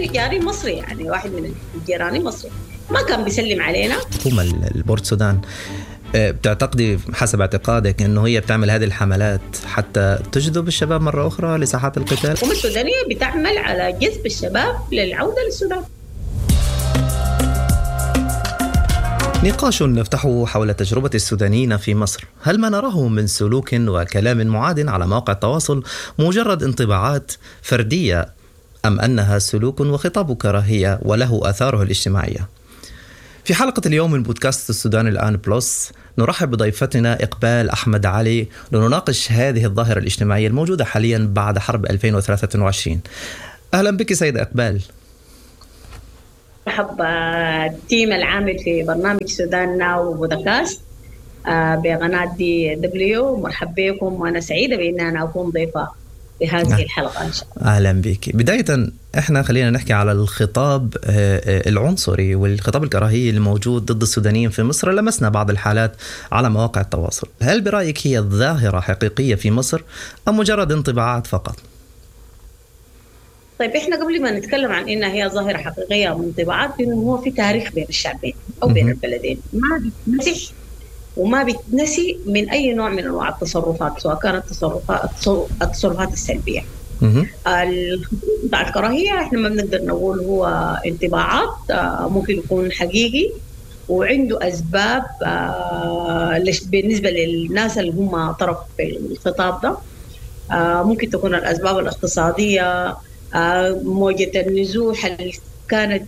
جاري مصري، يعني واحد من الجيراني مصري ما كان بيسلم علينا. حكومة البورت سودان بتعتقدي حسب اعتقادك أنه هي بتعمل هذه الحملات حتى تجذب الشباب مرة أخرى لساحات القتال؟ الحكومة السودانية بتعمل على جذب الشباب للعودة للسودان. نقاش نفتحه حول تجربة السودانيين في مصر. هل ما نراه من سلوك وكلام معاد على مواقع التواصل مجرد انطباعات فردية أم أنها سلوك وخطاب كراهية وله آثاره الاجتماعية؟ في حلقة اليوم من بودكاست السودان الآن بلس نرحب بضيفتنا إقبال أحمد علي لنناقش هذه الظاهرة الاجتماعية الموجودة حاليا بعد حرب 2023. أهلا بك سيدة إقبال. مرحبا ال team العامل في برنامج سودان ناو بودكاست بقناة DW. مرحبا بكم، وأنا سعيدة بأن أنا أكون ضيفة في هذه الحلقة إن شاء الله. أهلا بك. بداية إحنا خلينا نحكي على الخطاب العنصري والخطاب الكراهية الموجود ضد السودانيين في مصر. لمسنا بعض الحالات على مواقع التواصل. هل برأيك هي ظاهرة حقيقية في مصر أم مجرد انطباعات فقط؟ طيب، إحنا قبل ما نتكلم عن إنها هي ظاهرة حقيقية أو انطباعات، إنه هو في تاريخ بين الشعبين أو بين البلدين ما بيتمسح وما بيتنسي من أي نوع من أنواع التصرفات، سواء كانت التصرفات السلبية. بتاع الكراهية إحنا ما بنقدر نقول هو انطباعات، ممكن يكون حقيقي وعنده أسباب بالنسبة للناس اللي هم طرف في الخطاب ده. ممكن تكون الأسباب الاقتصادية، موجة النزوح اللي كانت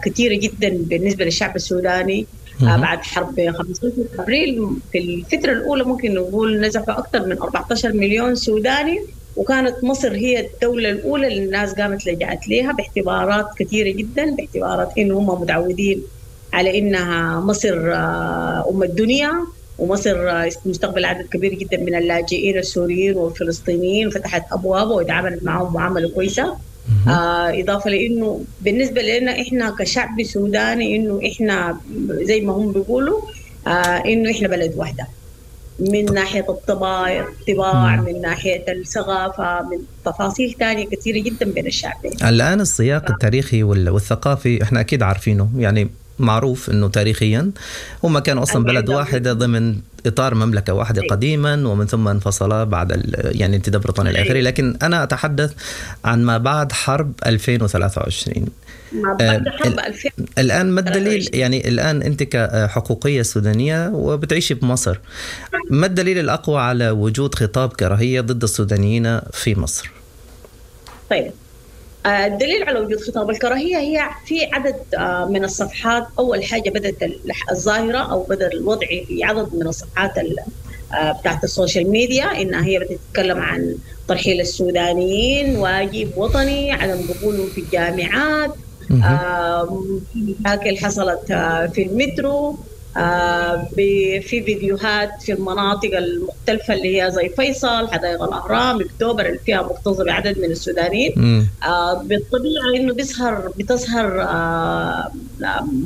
كثيرة جدا بالنسبة للشعب السوداني بعد حرب 15 أبريل. في الفترة الأولى ممكن نقول نزحوا أكثر من 14 مليون سوداني، وكانت مصر هي الدولة الأولى اللي الناس قامت لجأت لها باعتبارات كثيرة جدا، باعتبارات إنه هم متعودين على إنها مصر أم الدنيا، ومصر مستقبل عدد كبير جدا من اللاجئين السوريين والفلسطينيين، فتحت أبوابها وتعاملت معهم معاملة كويسة. إضافة لأنه بالنسبة لنا إحنا كشعب سوداني إنه إحنا زي ما هم بيقولوا إنه إحنا بلد واحدة من ناحية الطباع، من ناحية الثقافة، من تفاصيل تانية كثيرة جدا بين الشعبين. الآن السياق التاريخي والثقافي إحنا أكيد عارفينه، يعني معروف أنه تاريخيا هم كانوا أصلا بلد واحدة ضمن إطار مملكة واحدة قديما، ومن ثم انفصلا بعد يعني انتداب بريطانيا الآخري. لكن أنا أتحدث عن ما بعد حرب 2023. ما بعد حرب 2023. الآن ما الدليل، يعني الآن أنت كحقوقية سودانية وبتعيشي بمصر، ما الدليل الأقوى على وجود خطاب كراهية ضد السودانيين في مصر؟ طيب، الدليل على وجود خطاب الكراهية هي في عدد من الصفحات. أول حاجة بدأت الظاهرة أو بدأ الوضع في عدد من الصفحات بتاعت ال social media، إنها هي بدأت تتكلم عن ترحيل السودانيين، واجب وطني، عدم قبولهم في الجامعات، مشاكل حصلت في المترو، في فيديوهات في المناطق المختلفة اللي هي زي فيصل، حدائق الأهرام، أكتوبر، اللي فيها مكتظة بعدد من السودانيين. بالطبيعة إنه بتظهر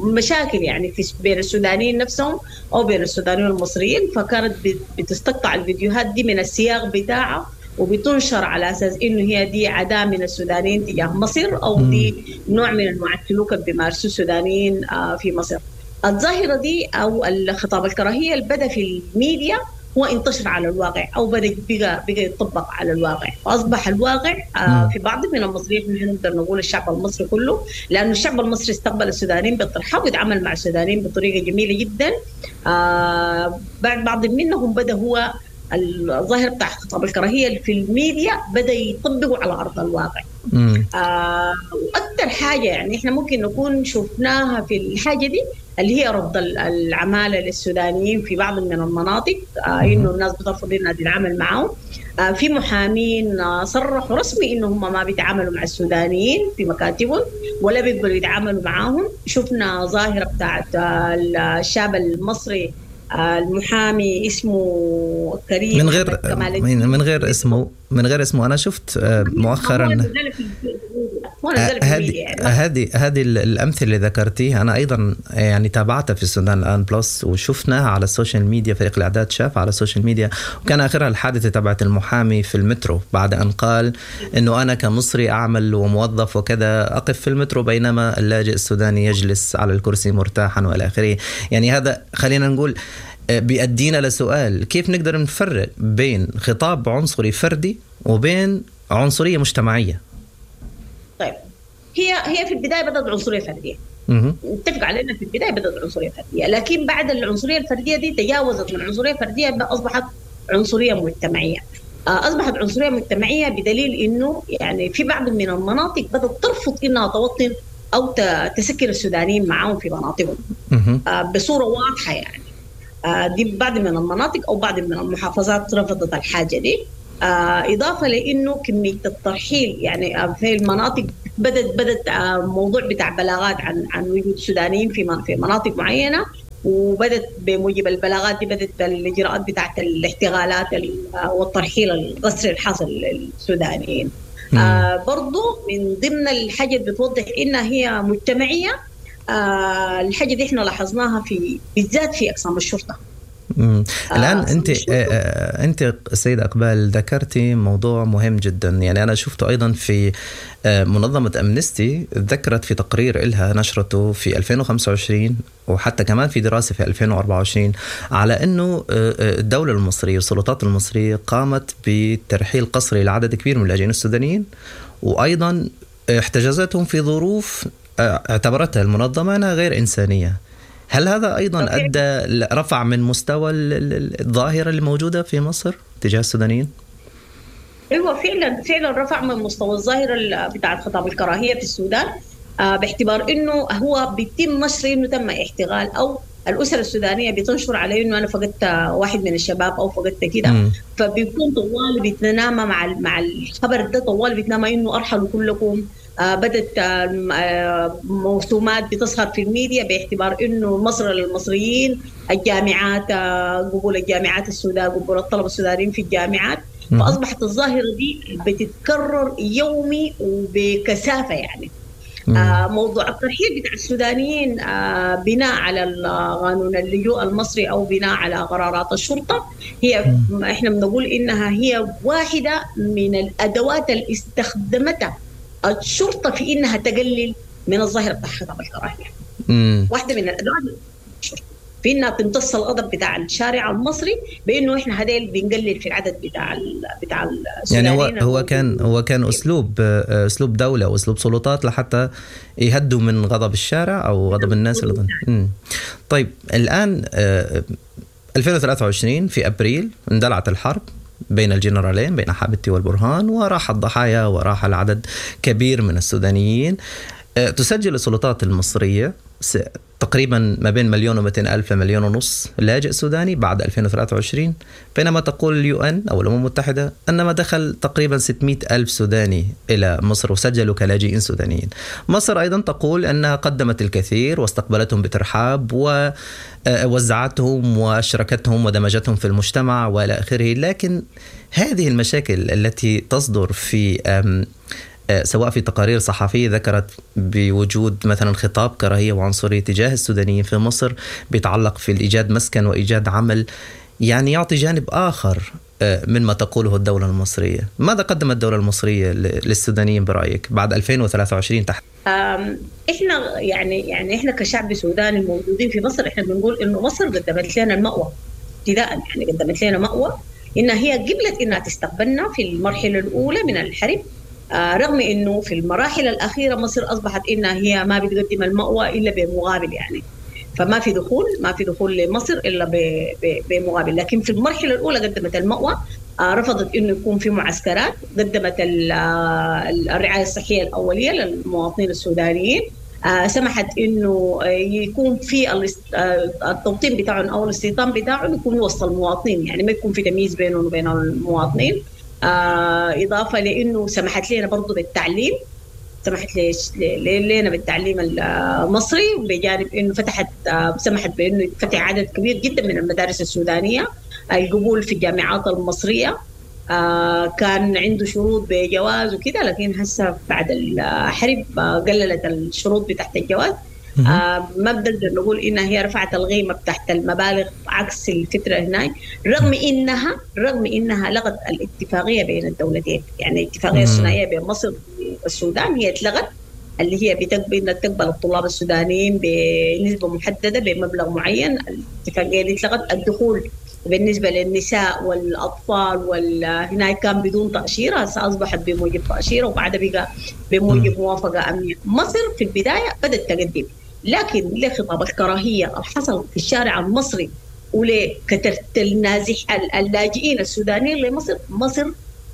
مشاكل يعني في بين السودانيين نفسهم أو بين السودانيين والمصريين، فكانت بتستقطع الفيديوهات دي من السياق بتاعها وبتنشر على أساس إنه هي دي عداء من السودانيين تجاه مصر، أو دي نوع من أنواع السلوك اللي بيمارسوه السودانيين في مصر. الظاهرة دي أو الخطاب الكراهية اللي بدأ في الميديا هو انتشر على الواقع، أو بدأ بقى يطبق على الواقع، فأصبح الواقع في بعض من المصريين، نقدر نقول الشعب المصري كله، لأنه الشعب المصري استقبل السودانيين بالترحاب ويتعامل مع السودانيين بطريقة جميلة جدا. بعد بعض منهم بدأ هو الظاهر بتاع خطاب الكراهية في الميديا بدأ يطبقه على أرض الواقع. وأكثر حاجة يعني إحنا ممكن نكون شفناها في الحاجة دي اللي هي رفض العمالة للسودانيين في بعض من المناطق، إنه الناس بترفض إنها تتعامل معهم. في محامين صرحوا رسمي إنه هم ما بيتعاملوا مع السودانيين في مكاتبهم ولا بيقبلوا يتعاملوا معاهم. شفنا ظاهرة بتاعت الشاب المصري المحامي اسمه كريم من غير من غير اسمه. أنا شفت مؤخرا هو نزلها في الميديا يعني. هذه الامثلة اللي ذكرتيها انا ايضا يعني تابعتها في السودان الان بلس، وشفناها على ال social media، فريق الاعداد شاف على ال social media، وكان اخرها الحادثة تبعت المحامي في المترو بعد ان قال انه انا كمصري اعمل وموظف وكذا اقف في المترو بينما اللاجئ السوداني يجلس على الكرسي مرتاحا والى اخره. يعني هذا خلينا نقول بيأدينا لسؤال، كيف نقدر نفرق بين خطاب عنصري فردي وبين عنصرية مجتمعية؟ طيب هي في البداية بدأت عنصرية فردية، نتفق على أنها في البداية بدأت عنصرية فردية، لكن بعد العنصرية الفردية دي تجاوزت من عنصرية فردية أصبحت عنصرية مجتمعية. أصبحت عنصرية مجتمعية بدليل إنه يعني في بعض من المناطق بدأت ترفض إنها توطن أو تسكن السودانيين معاهم في مناطقهم بصورة واضحة يعني. دي بعض من المناطق أو بعض من المحافظات رفضت الحاجة دي، إضافة لأنه كمية الترحيل يعني في المناطق بدت موضوع بتاع بلاغات عن وجود سودانيين في مناطق معينة، وبدت بموجب البلاغات دي بدت الإجراءات بتاعت الاحتغالات والترحيل القسري الحاصل للسودانيين. برضو من ضمن الحاجة اللي بتوضح إنها هي مجتمعية، الحاجة دي احنا لاحظناها في بالذات في أقسام الشرطة. الآن أنت السيدة إقبال ذكرتي موضوع مهم جدا، يعني أنا شفته أيضا في منظمة أمنستي، ذكرت في تقرير إلها نشرته في 2025 وحتى كمان في دراسة في 2024 على أنه الدولة المصرية والسلطات المصرية قامت بترحيل قسري لعدد كبير من اللاجئين السودانيين، وأيضا احتجزتهم في ظروف اعتبرتها المنظمة أنها غير إنسانية. هل هذا أيضا أدى رفع من مستوى الظاهرة اللي موجودة في مصر تجاه السودانيين؟ أيوة فعلا رفع من مستوى الظاهرة بتاعة خطاب الكراهية في السودان، باعتبار إنه هو بيتم نشر إنه تم احتغال، أو الأسرة السودانية بتنشر عليه إنه أنا فقدت واحد من الشباب أو فقدت كده، فبيكون طوال بيتنامى مع الخبر ده، طوال بيتنامى إنه أرحلوا كلكم. بدت موسومات بتظهر في الميديا باعتبار انه مصر للمصريين، الجامعات، قبول الجامعات السودان، قبول الطلبة السودانيين في الجامعات. فاصبحت الظاهرة دي بتتكرر يومي وبكثافه يعني. موضوع الترحيل بتاع السودانيين بناء على قانون اللجوء المصري او بناء على قرارات الشرطة، هي احنا بنقول انها هي واحدة من الادوات اللي استخدمتها الشرطة في إنها تقلل من الظاهرة بتاع خطاب الكراهية. واحدة من الأدوات الشرطة في إنها تمتص الغضب بتاع الشارع المصري بإنه إحنا هذيل بنقلل في العدد بتاع يعني هو كان أسلوب دولة وأسلوب سلطات لحتى يهدوا من غضب الشارع أو غضب الناس اللي. طيب الآن 2023 في أبريل اندلعت الحرب بين الجنرالين، بين حبيبتي والبرهان، وراح الضحايا وراح العدد كبير من السودانيين. تسجل السلطات المصرية تقريبا ما بين 1,200,000 ل 1.5 مليون لاجئ سوداني بعد 2023، بينما تقول ال UN أو الأمم المتحدة أنما دخل تقريبا 600,000 سوداني إلى مصر وسجلوا كلاجئين سودانيين. مصر أيضا تقول أنها قدمت الكثير واستقبلتهم بترحاب ووزعتهم وأشركتهم ودمجتهم في المجتمع وإلى آخره، لكن هذه المشاكل التي تصدر في سواء في تقارير صحفية ذكرت بوجود مثلا خطاب كراهية وعنصرية تجاه السودانيين في مصر بيتعلق في الإيجاد مسكن وإيجاد عمل، يعني يعطي جانب آخر من ما تقوله الدولة المصرية. ماذا قدمت الدولة المصرية للسودانيين برأيك بعد 2023 تحت؟ إحنا يعني إحنا كشعب سوداني موجودين في مصر، إحنا بنقول إنه مصر قدمت لنا المأوى ابتداء، يعني قدمت لنا مأوى إنها هي قبلت إنها تستقبلنا في المرحلة الأولى من الحرب، رغم انه في المراحل الاخيرة مصر اصبحت انها هي ما بتقدم المأوى الا بمقابل، يعني فما في دخول، ما في دخول لمصر الا بمقابل. لكن في المرحلة الاولى قدمت المأوى، رفضت انه يكون في معسكرات، قدمت الرعاية الصحية الاولية للمواطنين السودانيين، سمحت انه يكون في التوطين بتاعهم او الاستيطان بتاعهم يكون وسط المواطنين، يعني ما يكون في تمييز بينهم وبين المواطنين. إضافة لأنه سمحت لنا برضو بالتعليم، سمحت لنا بالتعليم المصري، بجانب أنه سمحت بأنه يتفتح عدد كبير جدا من المدارس السودانية، القبول في الجامعات المصرية. كان عنده شروط بجواز وكده، لكن هسه بعد الحرب قللت الشروط بتاعت الجواز. ما بنقدر نقول انها هي رفعت القيمة بتاعت المبالغ عكس الفترة هناك، رغم انها لغت الاتفاقية بين الدولتين، يعني الاتفاقية الثنائية بين مصر والسودان هي اتلغت، اللي هي بتقبل تقبل الطلاب السودانيين بنسبة محددة بمبلغ معين. الاتفاقية دي اتلغت. الدخول بالنسبة للنساء والاطفال هناك كان بدون تاشيرة، هسه اصبحت بموجب تاشيرة، وبعدها بقى بموجب موافقة امنية. مصر في البداية بدات تقدم، لكن لخطاب الكراهية اللي حصل في الشارع المصري ولكثره النازح اللاجئين السودانيين لمصر، مصر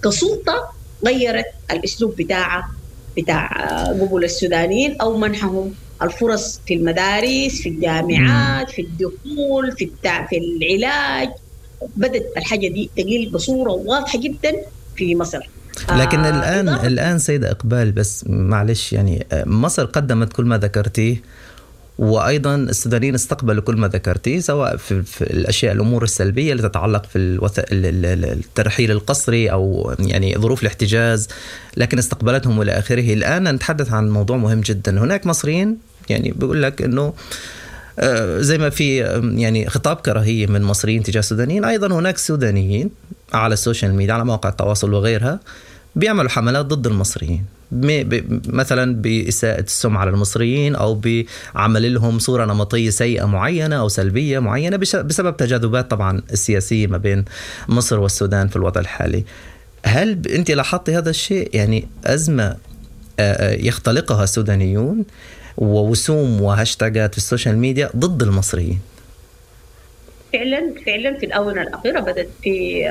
كسلطه غيرت الاسلوب بتاعها بتاع قبول السودانيين او منحهم الفرص في المدارس، في الجامعات، في الدخول، في العلاج. بدت الحاجة دي تقل بصورة واضحة جدا في مصر. لكن الان سيده اقبال، بس معلش يعني مصر قدمت كل ما ذكرتيه، وايضا السودانيين استقبلوا كل ما ذكرتيه، سواء في الاشياء الامور السلبية اللي تتعلق في الترحيل القسري او يعني ظروف الاحتجاز، لكن استقبلتهم والى اخره. الان نتحدث عن موضوع مهم جدا، هناك مصريين يعني بيقول لك انه زي ما في يعني خطاب كراهية من مصريين تجاه السودانيين، ايضا هناك سودانيين على ال social media، على مواقع التواصل وغيرها، بيعملوا حملات ضد المصريين، مثلا بإساءة السمعة للمصريين أو بعمل لهم صورة نمطية سيئة معينة أو سلبية معينة بسبب تجاذبات طبعا السياسية ما بين مصر والسودان في الوضع الحالي. هل أنت لاحظتي هذا الشيء؟ يعني أزمة يختلقها السودانيون ووسوم وهاشتاجات في ال social media ضد المصريين. فعلا في الآونة الأخيرة بدأت في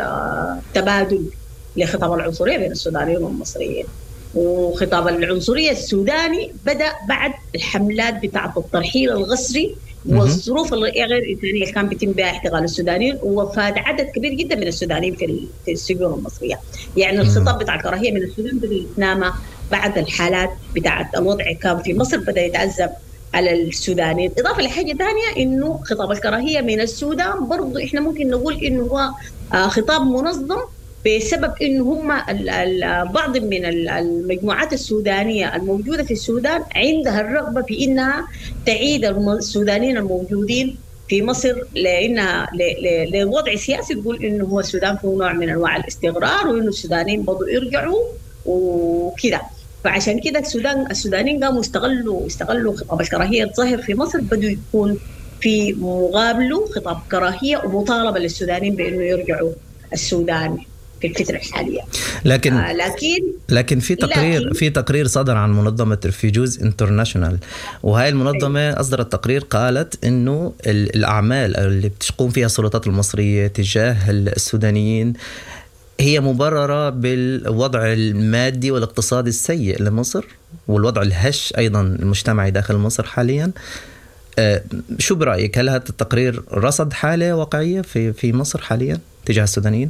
تبادل لخطاب العنصرية بين السودانيين والمصريين، وخطاب العنصرية السوداني بدأ بعد الحملات بتاعة الترحيل القسري والظروف الغير إنسانية اللي كان بيتم بها احتقال السودانيين، ووفاة عدد كبير جدا من السودانيين في السجون المصرية. يعني الخطاب بتاع الكراهية من السودان بدأ يتنامى بعد الحالات بتاعة الوضع كان في مصر، بدأ يتعذب على السودانيين. إضافة لحاجة ثانية، إنه خطاب الكراهية من السودان برضو إحنا ممكن نقول إنه هو خطاب منظم، بسبب إنه هم بعض من المجموعات السودانية الموجودة في السودان عندها الرغبة في إنها تعيد السودانيين الموجودين في مصر، لأنها لوضع سياسي تقول إنه هو السودان فيه نوع من أنواع الاستقرار، وإنه السودانيين بدوا يرجعوا وكده. فعشان كده السودانيين قاموا استغلوا خطاب الكراهية الظاهر في مصر، بدوا يكون في مقابله خطاب كراهية ومطالبة للسودانيين بإنه يرجعوا السودان في الفترة الحالية. لكن في تقرير في تقرير صدر عن منظمة Refugees International، وهي المنظمة أصدرت تقرير قالت إنه الأعمال اللي بتقوم فيها السلطات المصرية تجاه السودانيين هي مبررة بالوضع المادي والاقتصادي السيء لمصر، والوضع الهش أيضا المجتمعي داخل مصر حاليا. شو برأيك، هل هذا التقرير رصد حالة واقعية في مصر حاليا تجاه السودانيين؟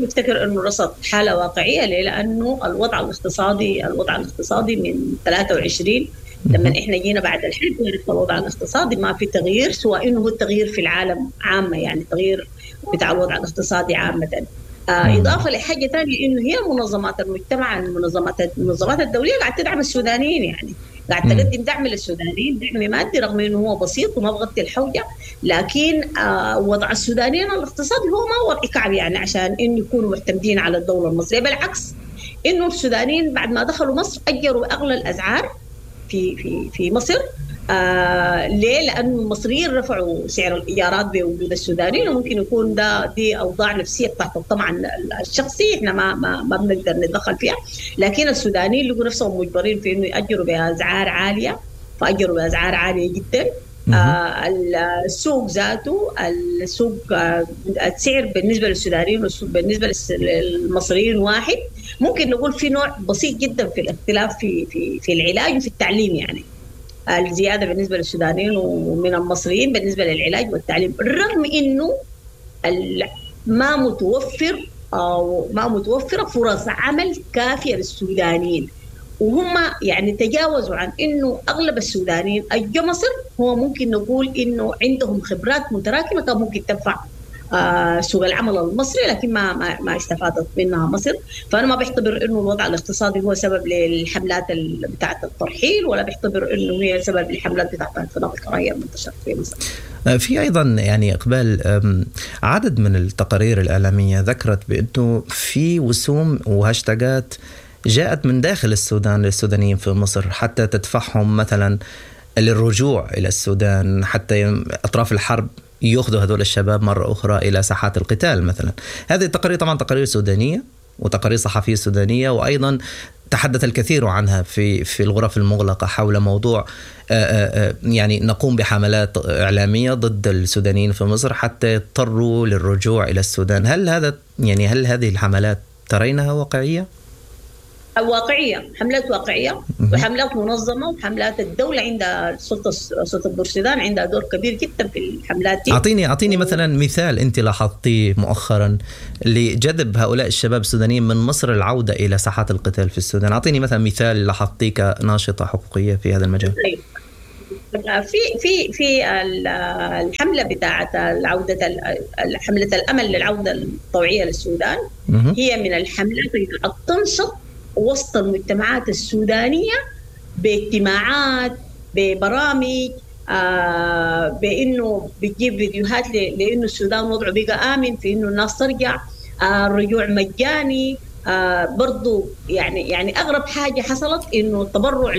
نفتكر انه رصد حاله واقعية. ليه؟ لانه الوضع الاقتصادي من 23 لما احنا جينا بعد الحرب عرفنا الوضع الاقتصادي ما في تغيير، سواء انه هو التغيير في العالم عامة، يعني التغيير بتاع الوضع الاقتصادي عامة. اضافه لحاجة ثانية، انه هي منظمات المجتمع، المنظمات الدولية قاعدة تدعم السودانيين، يعني قاعد تقدم دعم للسودانيين، دعم مادي رغم انه هو بسيط وما بغطي الحوجه، لكن وضع السودانيين الاقتصادي هو ما وضع كعب يعني عشان انه يكونوا معتمدين على الدولة المصرية. بالعكس، انه السودانيين بعد ما دخلوا مصر اجروا اغلى الاسعار في في في مصر. ليه؟ لأن المصريين رفعوا سعر الإيجارات بوجود السودانيين، وممكن يكون دي أوضاع نفسية تحت الطمع الشخصي، إحنا ما بنقدر نتدخل فيها، لكن السودانيين لقوا نفسهم مجبرين في إنه يأجروا بأسعار عالية، فأجروا بأسعار عالية جدا. السوق ذاته، السوق السعر بالنسبة للسودانيين والسوق بالنسبة للمصريين واحد. ممكن نقول في نوع بسيط جدا في الاختلاف في في في العلاج وفي التعليم، يعني الزيادة بالنسبة للسودانيين ومن المصريين بالنسبة للعلاج والتعليم، رغم إنه ما متوفر أو ما متوفرة فرص عمل كافية للسودانيين، وهم يعني تجاوزوا عن إنه أغلب السودانيين أجوا مصر هو ممكن نقول إنه عندهم خبرات متراكمة كان ممكن تنفع سوق العمل المصري، لكن ما استفادت منها مصر. فأنا ما بعتبر إنه الوضع الاقتصادي هو سبب للحملات بتاعة الترحيل، ولا بعتبر إنه هي سبب للحملات بتاعة خطاب الكراهية المنتشرة في مصر. في أيضا يعني إقبال، عدد من التقارير الإعلامية ذكرت بأنه في وسوم وهاشتاجات جاءت من داخل السودان للسودانيين في مصر حتى تدفعهم مثلا للرجوع إلى السودان، حتى أطراف الحرب يأخذوا هذول الشباب مرة أخرى إلى ساحات القتال مثلا. هذه التقارير طبعا تقارير سودانية وتقارير صحفية سودانية، وأيضا تحدث الكثير عنها في الغرف المغلقة حول موضوع يعني نقوم بحملات إعلامية ضد السودانيين في مصر حتى يضطروا للرجوع إلى السودان. هل هذا يعني هل هذه الحملات ترينها واقعية؟ واقعية، حملات واقعية وحملات منظمة، وحملات الدولة عندها سلطة بورسودان عندها دور كبير جدا في الحملات دي. أعطيني مثلا مثال أنت لاحظتيه مؤخرا لجذب هؤلاء الشباب السودانيين من مصر العودة إلى ساحات القتال في السودان. أعطيني مثلا مثال لاحظتيه كناشطة حقوقية في هذا المجال. طيب. في في الحملة بتاعة العودة، حملة الأمل للعودة الطوعية للسودان، هي من الحملات اللي تنشط وسط المجتمعات السودانية باجتماعات، ببرامج، بأنه بتجيب فيديوهات لأنه السودان وضعه بقى آمن، في أنه الناس ترجع، الرجوع مجاني. برضو يعني أغرب حاجة حصلت إنه التبرع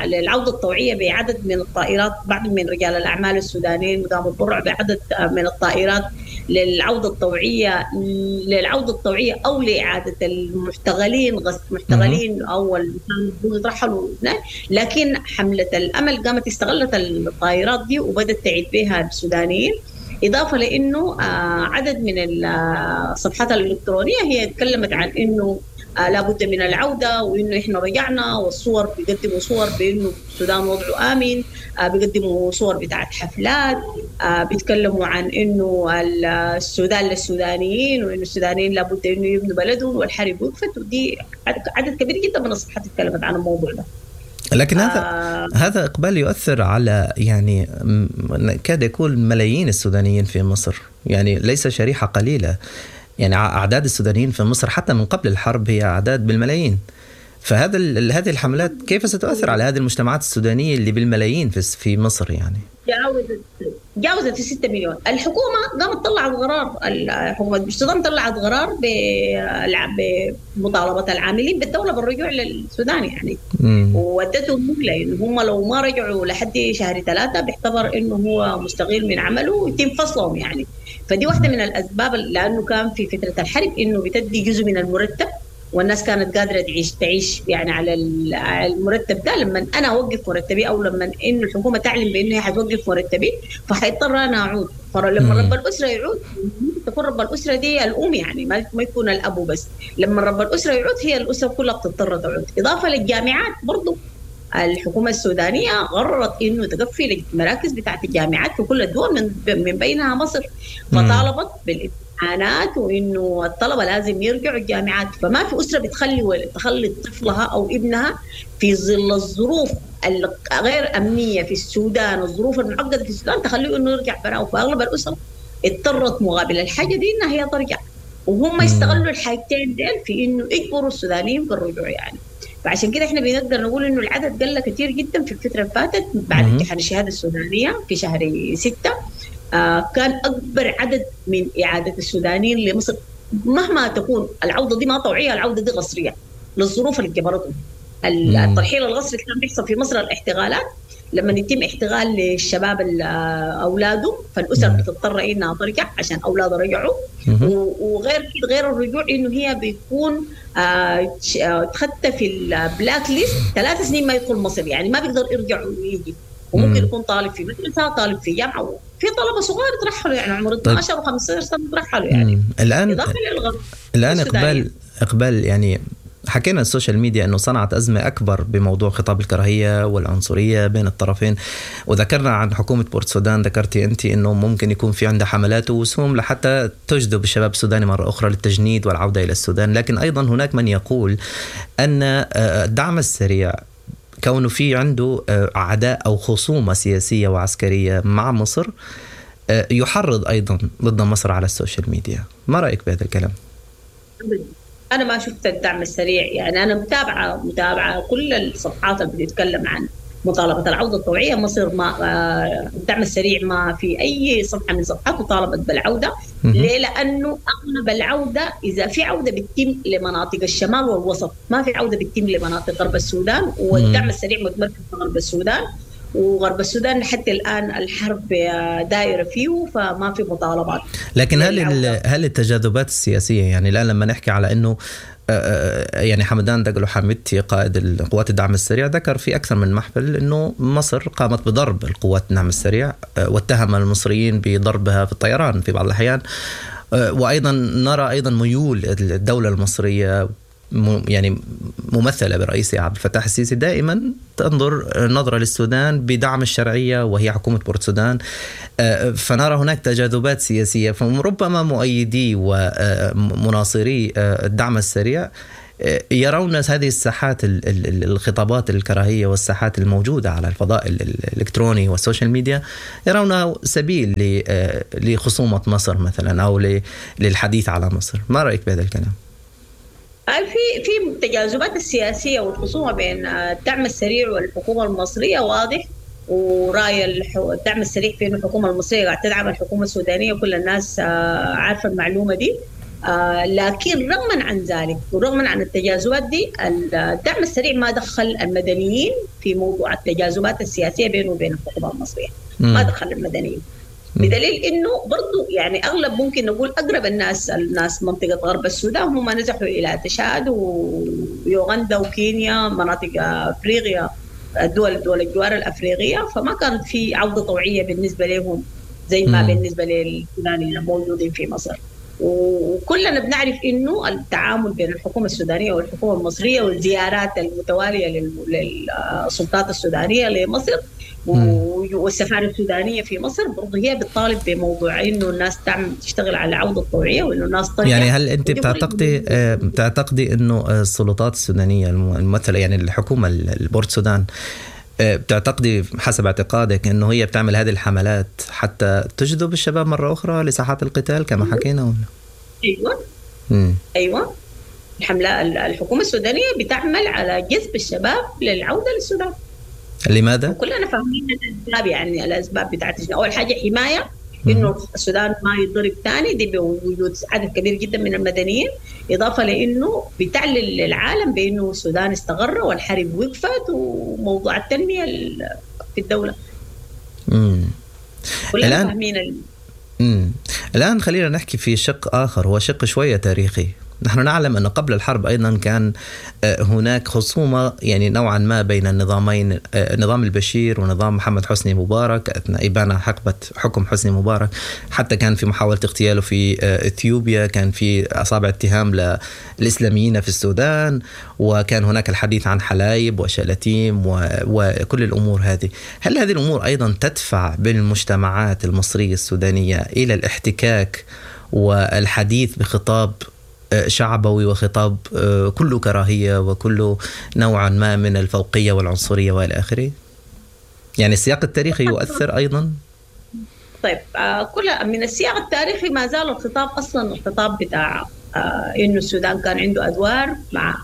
للعودة الطوعية بعدد من الطائرات، بعض من رجال الأعمال السودانيين قاموا بالتبرع بعدد من الطائرات للعودة الطوعية أو لإعادة المحتغلين، محتغلين أو يترحلوا. لكن حملة الأمل قامت استغلت الطائرات دي وبدت تعيد بها السودانيين، إضافة لأنه عدد من الصفحات الإلكترونية هي تكلمت عن إنه لابد من العودة، وإنه إحنا رجعنا، والصور بيقدموا صور بإنه السودان وضعه آمن، بيقدموا صور بتاعت حفلات، بيتكلموا عن إنه السودان للسودانيين، وإنه السودانيين لابد إنه يبنوا بلدهم، والحرب وقفت. ودي عدد كبير جدا من الصفحات تكلمت عن الموضوع ده. لكن هذا إقبال يؤثر على يعني كاد يكون ملايين السودانيين في مصر، يعني ليس شريحة قليلة، يعني أعداد السودانيين في مصر حتى من قبل الحرب هي أعداد بالملايين. فهذا هذه الحملات كيف ستؤثر على هذه المجتمعات السودانية اللي بالملايين في مصر؟ يعني جاوزت 6 مليون. الحكومة قامت طلعت قرار، الحكومة السودان طلعت قرار بمطالبة العاملين بالدولة بالرجوع للسودان يعني، وودتهم مهلة إنه هم لو ما رجعوا لحد شهر 3 بيعتبر إنه هو مستغيل من عمله ويتم فصلهم يعني. فدي واحدة من الأسباب، لأنه كان في فترة الحرب إنه بتدي جزء من المرتب، والناس كانت قادرة تعيش يعني على المرتب ده. لما أنا أوقف مرتبي، أو لما إنه الحكومة تعلن بإنه هي حتوقف مرتبي، فحيضطر أنا أعود. فلما رب الأسرة يعود، تكون رب الأسرة دي الأم يعني، ما يكون الأب بس. لما رب الأسرة يعود، هي الأسرة كلها بتضطر تعود. إضافة للجامعات برضو، الحكومة السودانية قررت إنه تقفل المراكز بتاعت الجامعات في كل الدول من بينها مصر، فطالبت بالامتحانات وإنه الطلبة لازم يرجعوا الجامعات. فما في أسرة بتخلي طفلها أو ابنها في ظل الظروف الغير أمنية في السودان، الظروف المعقدة في السودان، تخليه إنه يرجع براء. فأغلب الأسر اضطرت مقابل الحاجة دي إنها هي ترجع، وهم يستغلوا الحاجتين ديل في إنه يجبروا السودانيين بالرجوع يعني. فعشان كده احنا بنقدر نقول انه العدد قل كثير جدا في الفترة اللي فاتت بعد امتحان الشهادة السودانية في شهر 6. كان اكبر عدد من اعاده السودانيين لمصر، مهما تكون العودة دي ما طوعيه، العودة دي قسريه للظروف اللي جبرتهم. الترحيل القسري كان بيحصل في مصر، الاحتغالات لما يتم احتغال للشباب اولادهم، فالاسر بتضطر انها ترجع عشان اولادها رجعوا. وغير كده، غير الرجوع انه هي بيكون تخطى في ال black list 3 سنين ما يدخل مصر، يعني ما بيقدر يرجع ويجي. وممكن يكون طالب في مدرسه، طالب في جامعه، في طلبه صغار ترحلوا يعني عمر 12 و15 سنة ترحلوا يعني. الان اقبال يعني حكينا ال social media أنه صنعت أزمة أكبر بموضوع خطاب الكراهية والعنصرية بين الطرفين، وذكرنا عن حكومة بورت سودان، ذكرتي أنت أنه ممكن يكون في عندها حملات ووسوم لحتى تجذب الشباب السوداني مرة أخرى للتجنيد والعودة إلى السودان. لكن أيضا هناك من يقول أن الدعم السريع كونه في عنده عداء أو خصومة سياسية وعسكرية مع مصر، يحرض أيضا ضد مصر على ال social media. ما رأيك بهذا الكلام؟ أنا ما شفت الدعم السريع، يعني أنا متابعة كل الصفحات اللي بتتكلم عن مطالبة العودة الطوعية. مصر ما الدعم السريع ما في أي صفحة من صفحاته طالبت بالعودة. ليه؟ لأنه أغلب العودة إذا في عودة بتتم لمناطق الشمال والوسط، ما في عودة بتتم لمناطق غرب السودان، والدعم السريع متمركز في غرب السودان، وغرب السودان حتى الآن الحرب دائرة فيه، فما في مطالبات. لكن هل التجاذبات السياسية، يعني الآن لما نحكي على أنه يعني حمدان دقلو حميدتي قائد القوات الدعم السريع ذكر في أكثر من محفل أنه مصر قامت بضرب القوات الدعم السريع، واتهم المصريين بضربها في الطيران في بعض الأحيان، وأيضا نرى أيضا ميول الدولة المصرية يعني ممثلة برئيسها عبد الفتاح السيسي دائما تنظر نظرة للسودان بدعم الشرعية وهي حكومة بورتسودان، فنرى هناك تجاذبات سياسية، فربما مؤيدي ومناصري الدعم السريع يرون هذه الساحات الخطابات الكراهية والساحات الموجودة على الفضاء الإلكتروني وال social media يرونها سبيل لخصومة مصر مثلا أو للحديث على مصر. ما رأيك بهذا الكلام؟ في التجاذبات السياسية والخصومة بين الدعم السريع والحكومة المصرية واضح، وراي الدعم السريع في إنه الحكومة المصرية قاعدة تدعم الحكومة السودانية، وكل الناس عارفة المعلومة دي. لكن رغما عن ذلك ورغما عن التجاذبات دي، الدعم السريع ما دخل المدنيين في موضوع التجاذبات السياسية بينه وبين الحكومة المصرية، ما دخل المدنيين، بدليل انه برضو يعني اغلب ممكن نقول اقرب الناس منطقة غرب السودان هم نزحوا الى تشاد ويوغندا وكينيا، مناطق افريقيا، دول الجوار الافريقية، فما كانت في عوده طوعيه بالنسبة لهم زي ما بالنسبة للسودانيين الموجودين في مصر. وكلنا بنعرف انه التعامل بين الحكومة السودانية والحكومة المصرية والزيارات المتوالية للسلطات السودانية لمصر والسفاره السودانية في مصر برضه هي بتطالب بموضوع انه الناس تعمل تشتغل على العودة الطوعيه وانه الناس ترجع. يعني هل انت بتعتقدي انه السلطات السودانية الممثلة يعني الحكومة البورت سودان، بتعتقدي حسب اعتقادك انه هي بتعمل هذه الحملات حتى تجذب الشباب مرة اخرى لساحات القتال كما حكينا ولا؟ ايوه. ايوه، الحملة الحكومة السودانية بتعمل على جذب الشباب للعودة للسودان. لماذا؟ كلنا فاهمين الاسباب، يعني الاسباب بتاعت اول حاجة حماية انه السودان ما يتضرب ثاني، دي بوجود عدد كبير جدا من المدنيين، اضافه لانه بتعلن للعالم بانه السودان استقر والحرب وقفت وموضوع التنمية في الدولة. كلنا فاهمين. الان خلينا نحكي في شق اخر، هو شق شوية تاريخي. نحن نعلم أن قبل الحرب أيضا كان هناك خصومة يعني نوعا ما بين النظامين، نظام البشير ونظام محمد حسني مبارك أثناء إبانة حقبة حكم حسني مبارك، حتى كان في محاولة اغتياله في إثيوبيا، كان في أصابع اتهام للإسلاميين في السودان، وكان هناك الحديث عن حلايب وشلاتيم وكل الأمور هذه. هل هذه الأمور أيضا تدفع بالمجتمعات المصرية السودانية إلى الاحتكاك والحديث بخطاب شعبوي وخطاب كله كراهية وكله نوعا ما من الفوقية والعنصرية والى آخره؟ يعني السياق التاريخي يؤثر أيضا؟ طيب، كل من السياق التاريخي ما زال الخطاب أصلا الخطاب بتاع إنه السودان كان عنده أدوار مع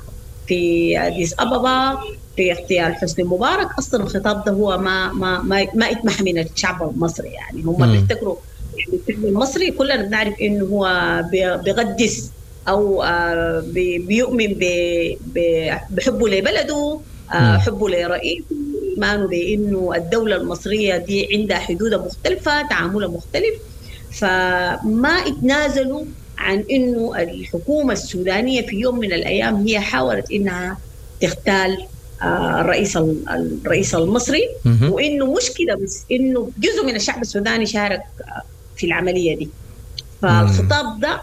في أديس أبابا في اغتيال حسني مبارك، أصلا الخطاب ده هو ما ما ما, ما اتمح من الشعب المصري. يعني هم بيفتكروا يعني الشعب المصري كلنا بنعرف إنه هو بيقدس أو بيؤمن بحبه لبلده، حبه لرئيسه، إيمانه بأنه الدولة المصرية دي عندها حدود مختلفة، تعاملها مختلف، فما اتنازلوا عن أنه الحكومة السودانية في يوم من الأيام هي حاولت أنها تغتال الرئيس المصري، وإنه مش كده بس، إنه جزء من الشعب السوداني شارك في العملية دي. فالخطاب ده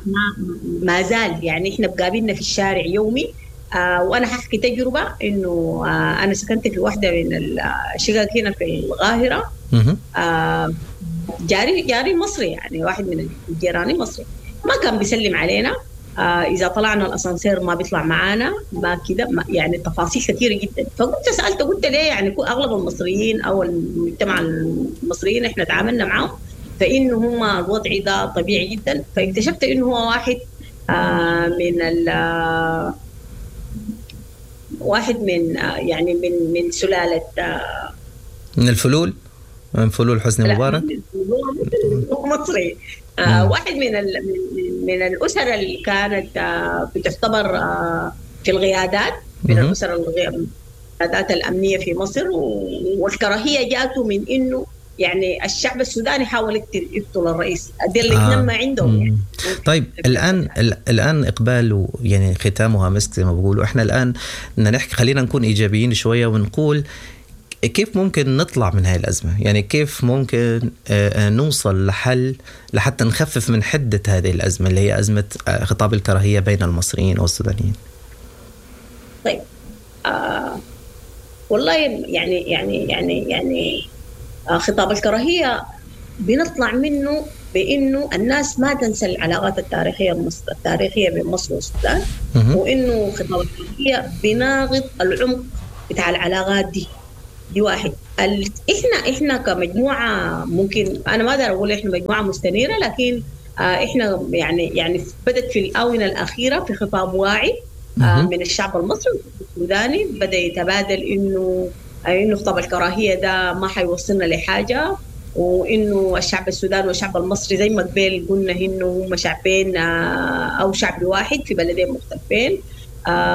ما زال يعني إحنا بقابلنا في الشارع يومي. وأنا ححكي تجربة إنه أنا سكنت في واحدة من الشقق هنا في القاهرة، جاري مصري، يعني واحد من الجيران مصري، ما كان بيسلم علينا، إذا طلعنا الأسانسير ما بيطلع معانا، ما كده، يعني تفاصيل كثيرة جدا. فقلت سألته قلت ليه يعني أغلب المصريين أو المجتمع المصريين إحنا تعاملنا معهم فانه هم الوضع ده طبيعي جدا. فاكتشفت انه هو واحد من واحد من يعني من سلالة من الفلول، من فلول حسني مبارك، مصري، واحد من الأسر اللي كانت بتعتبر في القيادات، من الأسر القيادات الأمنية في مصر. والكراهية جاته من إنه يعني الشعب السوداني حاول يقتل الرئيس، دي اللي اتنمى عندهم يعني. طيب الآن إقبال، يعني ختامها مسك زي ما بقولوا. إحنا الآن بدنا نحكي، خلينا نكون إيجابيين شوية ونقول كيف ممكن نطلع من هاي الأزمة؟ يعني كيف ممكن نوصل لحل لحتى نخفف من حدة هذه الأزمة اللي هي أزمة خطاب الكراهية بين المصريين والسودانيين؟ طيب والله يعني يعني يعني يعني خطاب الكراهية بنطلع منه بإنه الناس ما تنسى العلاقات التاريخية بين مصر والسودان، وإنه خطاب الكراهية بناغض العمق بتاع العلاقات دي. دي واحد. احنا كمجموعة، ممكن انا ما اقدر اقول احنا مجموعة مستنيره، لكن احنا يعني بدت في الاونة الاخيرة في خطاب واعي من الشعب المصري والسوداني، بدا يتبادل انه خطاب الكراهية ده ما حيوصلنا لحاجة، وانه الشعب السوداني والشعب المصري زي ما قبل قلنا انه هم شعبين او شعب واحد في بلدين مختلفين.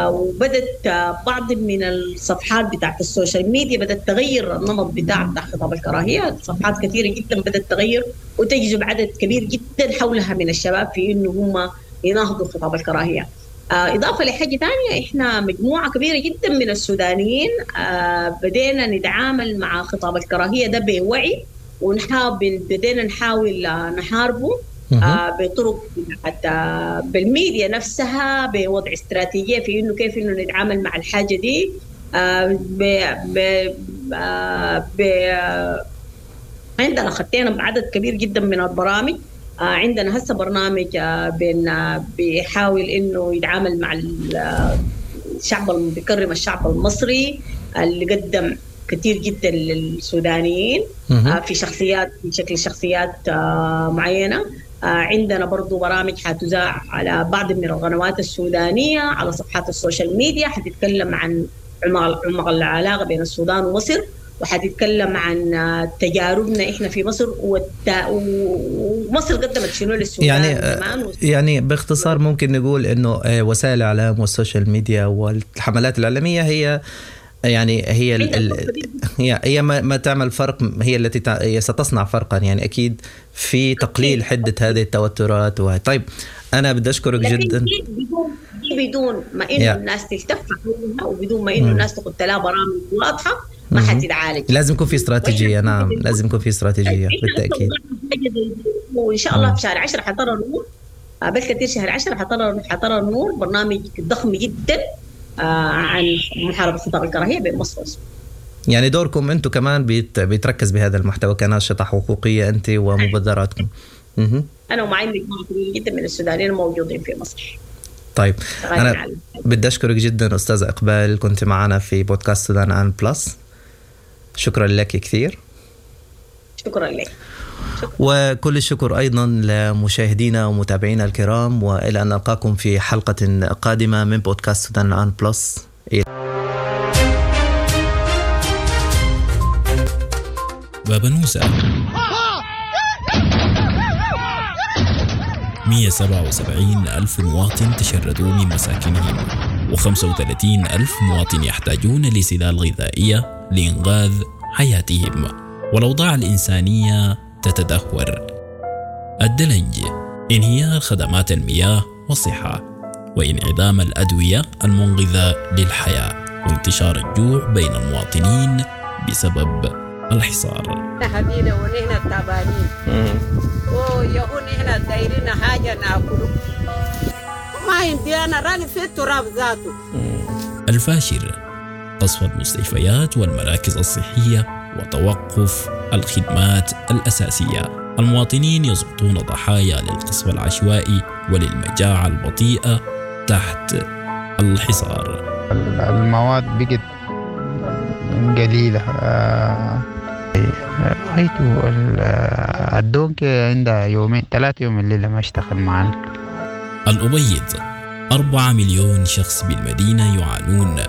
وبدت بعض من الصفحات بتاعت ال social media بدأت تغير النمط بتاع خطاب الكراهية. صفحات كثيرة جدا بدأت تغير وتجذب عدد كبير جدا حولها من الشباب في إنه هم يناهضوا خطاب الكراهية. إضافة لحاجة ثانية، إحنا مجموعة كبيرة جدا من السودانيين بدينا نتعامل مع خطاب الكراهية ده بوعي، بدينا نحاول نحاربه بطرق حتى بالميديا نفسها، بوضع استراتيجية في إنه كيف إنه نتعامل مع الحاجة دي. عندنا خطينا بعدد كبير جدا من البرامج. عندنا هسه برنامج بيحاول إنه يتعامل مع الشعب، بيكرم الشعب المصري اللي قدم كثير جدا للسودانيين في شخصيات، في شكل شخصيات معينة. عندنا برضو برامج حتذاع على بعض من القنوات السودانية، على صفحات ال social media، حتتكلم عن عمق العلاقة بين السودان ومصر، وحتتكلم عن تجاربنا إحنا في مصر ومصر قدمت شنو للسودان. يعني يعني باختصار ممكن نقول إنه وسائل الإعلام وال social media والحملات الإعلامية هي يعني هي هي ما تعمل فرق، هي التي ستصنع فرقا يعني أكيد في تقليل حدة هذه التوترات. طيب أنا بدي أشكرك جدا. بدون ما إنه الناس تلتف وبدون ما إنه الناس تحط لها برامج واضحة ما حتتعالج. لازم يكون في استراتيجية. نعم لازم يكون في استراتيجية بالتأكيد. وإن شاء الله في شهر 10 حترى النور، بالكثير شهر 10 حترى النور برنامج ضخم جدا عن محاربة خطاب الكراهية بين مصر والسودان. يعني دوركم أنتم كمان بيتركز بهذا المحتوى كناشطة حقوقية أنت ومبادراتكم. أنا ومعي مجموعة كبيرة جدا من السودانيين الموجودين في مصر. طيب أنا بدي أشكرك جدا أستاذة إقبال، كنت معنا في بودكاست سودان آن بلس. شكرا لك كثير. شكرا لك. شكرا. وكل الشكر أيضا لمشاهدينا ومتابعينا الكرام، وإلى أن نلقاكم في حلقة قادمة من بودكاست سودان آن بلس. بابنوسة 177 ألف مواطن تشردوا من مساكنهم، و35 ألف مواطن يحتاجون لسلال غذائية لإنقاذ حياتهم، والأوضاع الإنسانية تتدهور. الدلنج، انهيار خدمات المياه والصحة، وانعدام الأدوية المنقذة للحياة، وانتشار الجوع بين المواطنين بسبب الحصار. حبينا ونحن تعبانين ويهون نحن دايرين حاجة ناكله ما عندي أنا راني في التراب ذاته. الفاشر، قصف المستشفيات والمراكز الصحية وتوقف الخدمات الأساسية. المواطنين يسقطون ضحايا للقصف العشوائي وللمجاعة البطيئة تحت الحصار. المواد بقت قليلة، غايتو الدونكي عندها يومين 3 يوم الليلة ما اشتغل معانا. الأبيض 4 مليون شخص بالمدينة يعانون،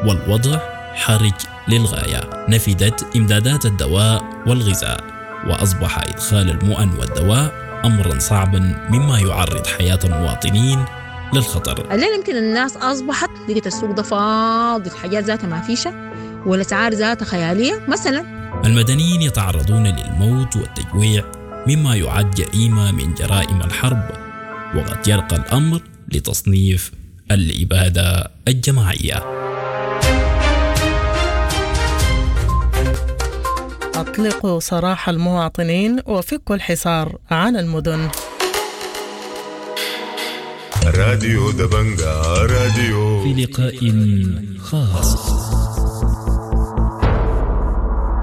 والوضع حرج للغاية. نفدت إمدادات الدواء والغذاء، وأصبح إدخال المؤن والدواء أمرا صعبا، مما يعرض حياة المواطنين للخطر. الليلة يمكن الناس أصبحت لقيت السوق ده فاضي، الحاجات ذاتها ما فيشة والأسعار ذاتها خيالية مثلا. المدنيين يتعرضون للموت والتجويع، مما يعد جريمة من جرائم الحرب، وقد يرقى الأمر لتصنيف الإبادة الجماعية. أطلقوا سراح المواطنين وفكوا الحصار عن المدن. راديو دبنجا راديو في لقاء خاص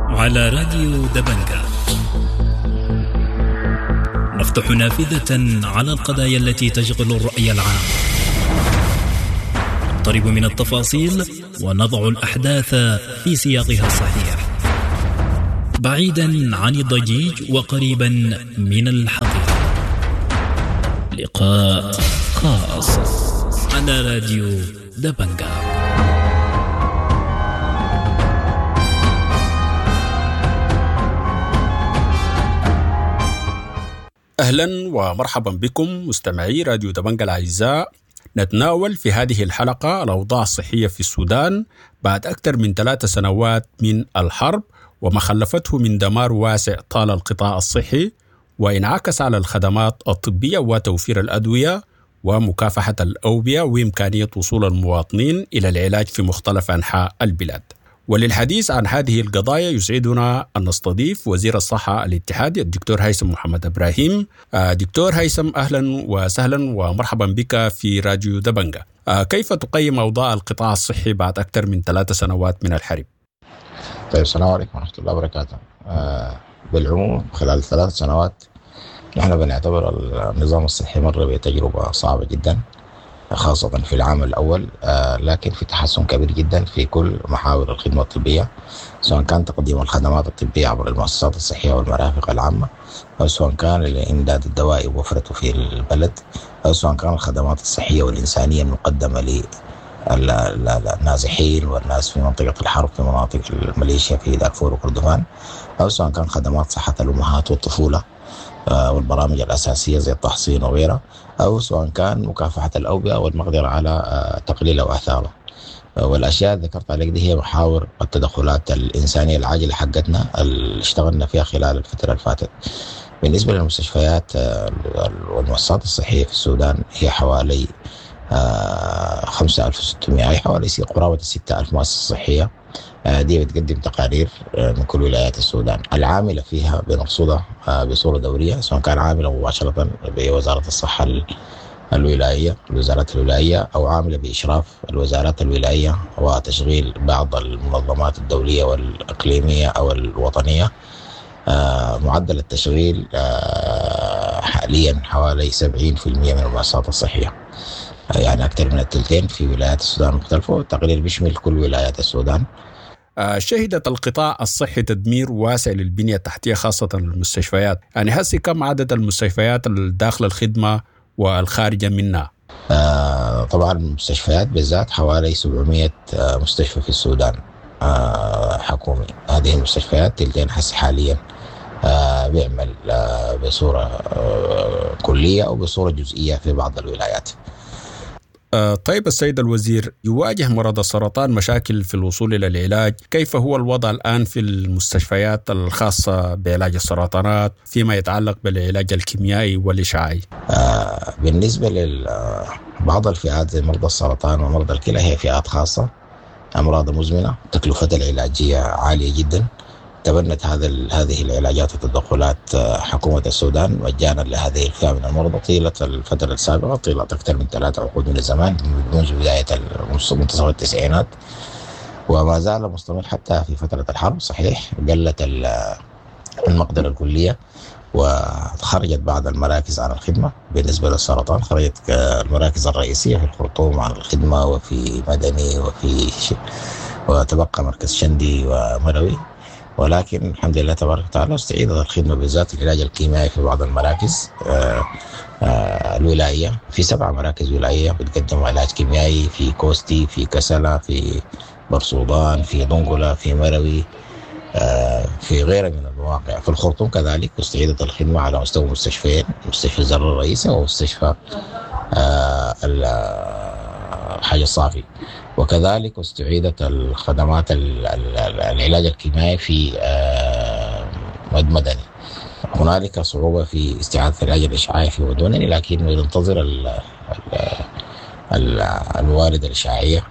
على راديو دبنجا نفتح نافذة على القضايا التي تشغل الرأي العام، نقترب من التفاصيل ونضع الأحداث في سياقها الصحيح، بعيدا عن الضجيج وقريبا من الحقيقة. لقاء خاص على راديو دبنجا. أهلا ومرحبا بكم مستمعي راديو دبنجا الأعزاء. نتناول في هذه الحلقة الأوضاع الصحية في السودان بعد أكثر من 3 سنوات من الحرب وما خلفته من دمار واسع طال القطاع الصحي وانعكس على الخدمات الطبية وتوفير الأدوية ومكافحة الأوبئة وإمكانية وصول المواطنين إلى العلاج في مختلف أنحاء البلاد. وللحديث عن هذه القضايا يسعدنا أن نستضيف وزير الصحة الاتحادي الدكتور هيثم محمد إبراهيم. دكتور هيثم، أهلا وسهلا ومرحبا بك في راديو دبنجا. كيف تقيم أوضاع القطاع الصحي بعد أكثر من 3 سنوات من الحرب؟ طيب، السلام عليكم ورحمة الله وبركاته. بالعموم خلال 3 سنوات نحن بنعتبر النظام الصحي مر بتجربة صعبة جدا، خاصة في العام الأول، لكن في تحسن كبير جدا في كل محاور الخدمة الطبية، سواء كان تقديم الخدمات الطبية عبر المؤسسات الصحية والمرافق العامة، أو سواء كان الإمداد الدوائي ووفرته في البلد، أو سواء كان الخدمات الصحية والإنسانية المقدمة للنازحين والناس في منطقة الحرب في مناطق الميليشيا في دارفور وكردفان، أو سواء كان خدمات صحة الأمهات والطفولة والبرامج الأساسية زي التحصين وغيرها، أو سواء كان مكافحة الأوبئة والمقدرة على تقليل أو آثاره. والأشياء اللي ذكرت عليك دي هي محاور التدخلات الإنسانية العاجلة حقتنا اللي اشتغلنا فيها خلال الفترة اللي فاتت. بالنسبة للمستشفيات والمؤسسات الصحية في السودان هي حوالي 5600، أي حوالي قرابة 6000 مؤسسة صحية. دي بتقدم تقارير من كل ولايات السودان العاملة فيها بنرصدها بصورة دورية، سواء كان عاملة مباشرة بوزارة الصحة الولاية، الوزارات الولاية، أو عاملة بإشراف الوزارات الولاية وتشغيل بعض المنظمات الدولية والإقليمية أو الوطنية. معدل التشغيل حاليا حوالي 70% من المؤسسات الصحية، يعني أكثر من الثلثين في ولايات السودان المختلفة، والتقرير بيشمل كل ولايات السودان. شهدت القطاع الصحي تدمير واسع للبنية التحتية خاصة المستشفيات، يعني هسي كم عدد المستشفيات الداخل الخدمة والخارجة منها؟ طبعا المستشفيات بالذات حوالي 700 مستشفى في السودان حكومي. هذه المستشفيات تلتين حس حاليا بيعمل بصورة كلية أو بصورة جزئية في بعض الولايات. طيب السيد الوزير، يواجه مرضى السرطان مشاكل في الوصول إلى العلاج، كيف هو الوضع الآن في المستشفيات الخاصة بعلاج السرطانات فيما يتعلق بالعلاج الكيميائي والإشعاعي؟ بالنسبة لبعض الفئات زي مرضى السرطان ومرضى الكلى هي فئات خاصة، أمراض مزمنة، تكلفتها العلاجية عالية جدا. تبنت هذه العلاجات والتدخلات حكومة السودان مجانا لهذه الفئة من المرضى طيلة الفترة السابقة، طيلة أكثر من 3 عقود من الزمان منذ بداية منتصف التسعينات، وما زال مستمر حتى في فترة الحرب. صحيح قلت المقدرة الكلية وخرجت بعض المراكز عن الخدمة. بالنسبة للسرطان خرجت المراكز الرئيسية في الخرطوم عن الخدمة، وفي مدني، وتبقى مركز شندي ومروي. ولكن الحمد لله تبارك وتعالى استعيدت الخدمة، بالذات العلاج الكيميائي في بعض المراكز الولائية. في 7 مراكز ولائية بتقدم علاج كيميائي، في كوستي، في كسلة، في برسودان، في دنقلة، في مروي، في غيرها من المواقع. في الخرطوم كذلك استعيدت الخدمة على مستوى مستشفيين، مستشفى الزر الرئيسي ومستشفى الحاج الصافي، وكذلك استعيدت الخدمات العلاج الكيميائي في مدني. هنالك صعوبة في استعادة العلاج الإشعاعي في مدني، لكن ننتظر الموارد الإشعاعية،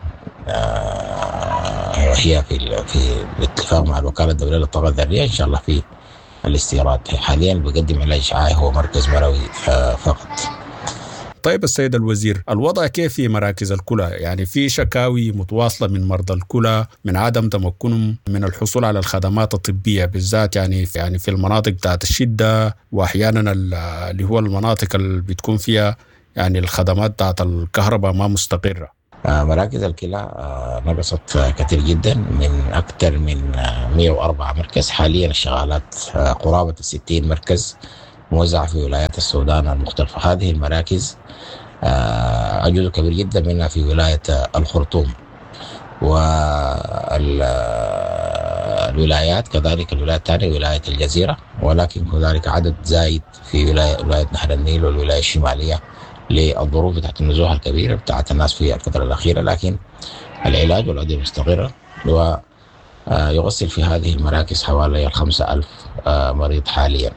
وهي في الاتفاق مع الوكالة الدولية للطاقة الذرية إن شاء الله في الاستيراد. حاليا بقدم علاج إشعاعي هو مركز مروي فقط. طيب السيد الوزير، الوضع كيف في مراكز الكلى؟ يعني في شكاوي متواصلة من مرضى الكلى من عدم تمكنهم من الحصول على الخدمات الطبية، بالذات يعني في المناطق بتاعت الشدة، وأحيانا اللي هو المناطق اللي بتكون فيها يعني الخدمات بتاعت الكهرباء ما مستقرة. مراكز الكلى نقصت كثير جدا، من أكثر من 104 مركز حاليا الشغالات قرابة 60 مركز موزعة في ولايات السودان المختلفة. هذه المراكز جزء كبير جدا منها في ولاية الخرطوم والولايات، كذلك الولاية الثانية ولاية الجزيرة، ولكن هنالك عدد زايد في ولاية نهر النيل والولاية الشمالية للظروف بتاعت النزوح الكبيرة بتاعت الناس في الفترة الأخيرة. لكن العلاج والأدوية مستقرة، ويغسل في هذه المراكز حوالي 5000 مريض حاليا،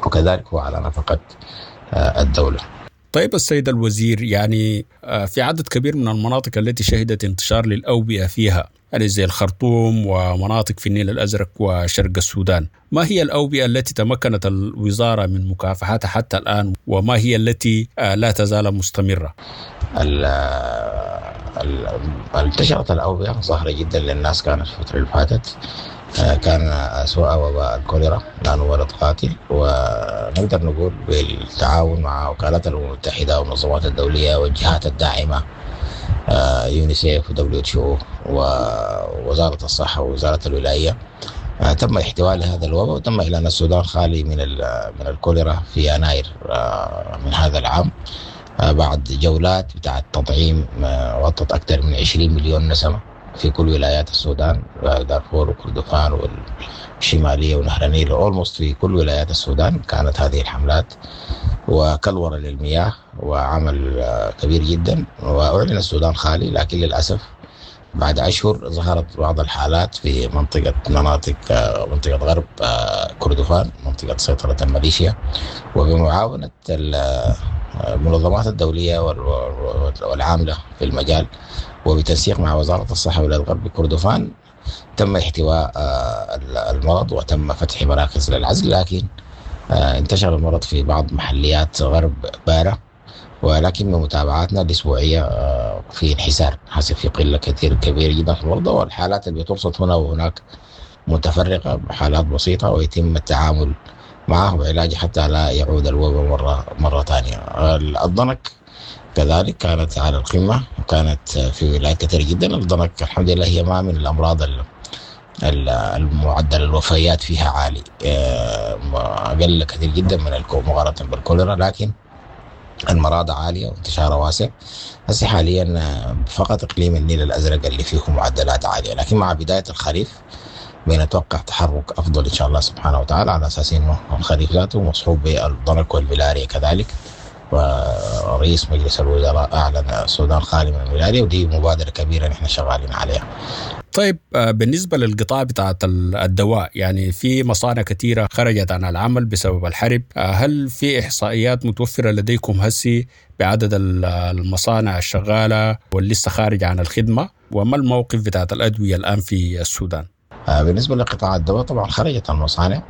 وكذلك هو على نفقة الدولة. طيب السيد الوزير، يعني في عدد كبير من المناطق التي شهدت انتشار للأوبئة فيها، يعني زي الخرطوم ومناطق في النيل الأزرق وشرق السودان، ما هي الأوبئة التي تمكنت الوزارة من مكافحتها حتى الآن، وما هي التي لا تزال مستمرة؟ انتشرت الأوبئة ظاهرة جدا للناس كانت في الفترة اللي فاتت، كان أسوأ وباء الكوليرا لأنه مرض قاتل، ونقدر نقول بالتعاون مع وكالات الأمم المتحدة والمنظمات الدولية والجهات الداعمة، يونيسيف ودبليو اتش او ووزارة الصحة ووزارة الولاية، تم احتواء لهذا الوباء، وتم إعلان السودان خالي من الكوليرا في يناير من هذا العام، بعد جولات بتاعة تطعيم غطت أكثر من 20 مليون نسمة في كل ولايات السودان، دارفور وكردفان والشمالية ونهر النيل، almost في كل ولايات السودان كانت هذه الحملات، وكلورة للمياه وعمل كبير جدا، وأعلن السودان خالي. لكن للأسف بعد أشهر ظهرت بعض الحالات في منطقة غرب كردفان، منطقة سيطرة الميليشيا، وبمعاونة المنظمات الدولية والعاملة في المجال وبتنسيق مع وزارة الصحة ولاية غرب كردفان تم احتواء المرض وتم فتح مراكز للعزل. لكن انتشر المرض في بعض محليات غرب بارة، ولكن بمتابعاتنا الأسبوعية في انحسار حسب في قلة كثير كبيرة جدا في المرضى، والحالات اللي بترصد هنا وهناك متفرقة بحالات بسيطة ويتم التعامل معه وعلاجه حتى لا يعود الوباء مرة ثانية. الضنك كذلك كانت على القمة، وكانت في ولايات كثيرة جدا. الضنك الحمد لله هي ما من الأمراض المعدل الوفيات فيها عالي، أقل كثير جدا من مقارنة بالكوليرا، لكن المراض عالية وانتشارها واسع. هسه حاليا فقط إقليم النيل الأزرق اللي فيه معدلات عالية، لكن مع بداية الخريف بنتوقع تحرك أفضل إن شاء الله سبحانه وتعالى، على أساس إنه الخريف ذاته مصحوب بالضنك والملاريا كذلك. ورئيس مجلس الوزراء أعلن السودان خالي من الملاريا، ودي مبادرة كبيرة نحن شغالين عليها. طيب بالنسبة للقطاع بتاعت الدواء، يعني في مصانع كثيرة خرجت عن العمل بسبب الحرب، هل في إحصائيات متوفرة لديكم هسي بعدد المصانع الشغالة واللي لسه خارجة عن الخدمة، وما الموقف بتاعت الأدوية الآن في السودان؟ بالنسبة لقطاع الدواء طبعا خرجت المصانع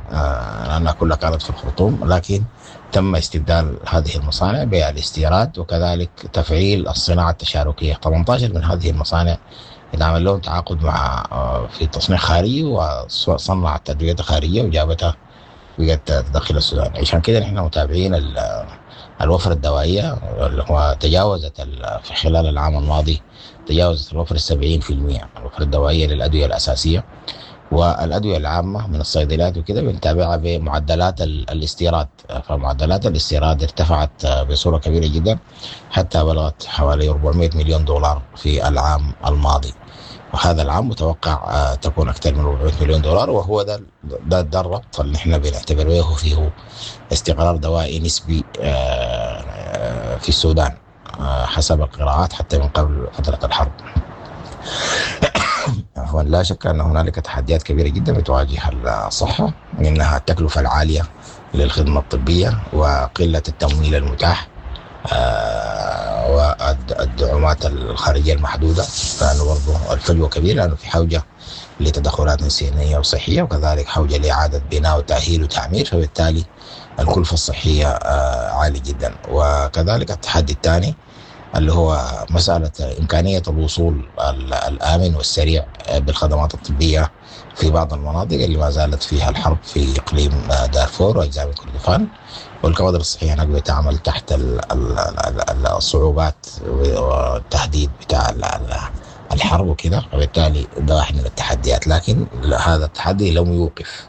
لأنها كلها كانت في الخرطوم، لكن تم استبدال هذه المصانع بالاستيراد وكذلك تفعيل الصناعة التشاركية. 18 من هذه المصانع اتعمل لهم تعاقد مع في تصنيع خارجي وصنعت أدوية خارجية وجابتها بقت تدخل السودان. عشان كده نحن متابعين الوفرة الدوائية اللي هو تجاوزت في خلال العام الماضي تجاوزت الوفرة 70%، الوفرة الدوائية للأدوية الأساسية. والأدوية العامة من الصيدليات وكده بنتابعها بمعدلات الاستيراد، فمعدلات الاستيراد ارتفعت بصورة كبيرة جدا حتى بلغت حوالي 400 مليون دولار في العام الماضي، وهذا العام متوقع تكون أكثر من 400 مليون دولار، وهو ده الربط اللي احنا بنعتبر به فيه استقرار دوائي نسبي في السودان حسب القراءات حتى من قبل فترة الحرب. عفوا، لا شك أن هنالك تحديات كبيرة جدا بتواجه الصحة، منها التكلفة العالية للخدمة الطبية وقلة التمويل المتاح والدعومات الخارجية المحدودة، لأنه برضه الفجوة كبيرة، لأنه في حوجة لتدخلات إنسانية وصحية، وكذلك حوجة لإعادة بناء وتأهيل وتعمير، فبالتالي الكلفة الصحية عالية جدا. وكذلك التحدي الثاني اللي هو مسألة إمكانية الوصول الآمن والسريع بالخدمات الطبية في بعض المناطق اللي ما زالت فيها الحرب في إقليم دارفور وأجزاء من كردفان، والكوادر الصحية هناك بتعمل تحت الصعوبات والتهديد بتاع الحرب وكده، وبالتالي ده واحد من التحديات. لكن هذا التحدي لم يوقف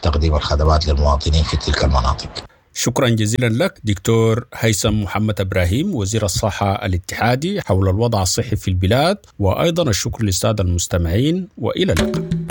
تقديم الخدمات للمواطنين في تلك المناطق. شكرا جزيلا لك دكتور هيثم محمد إبراهيم، وزير الصحة الاتحادي، حول الوضع الصحي في البلاد، وأيضا الشكر للسادة المستمعين، وإلى اللقاء.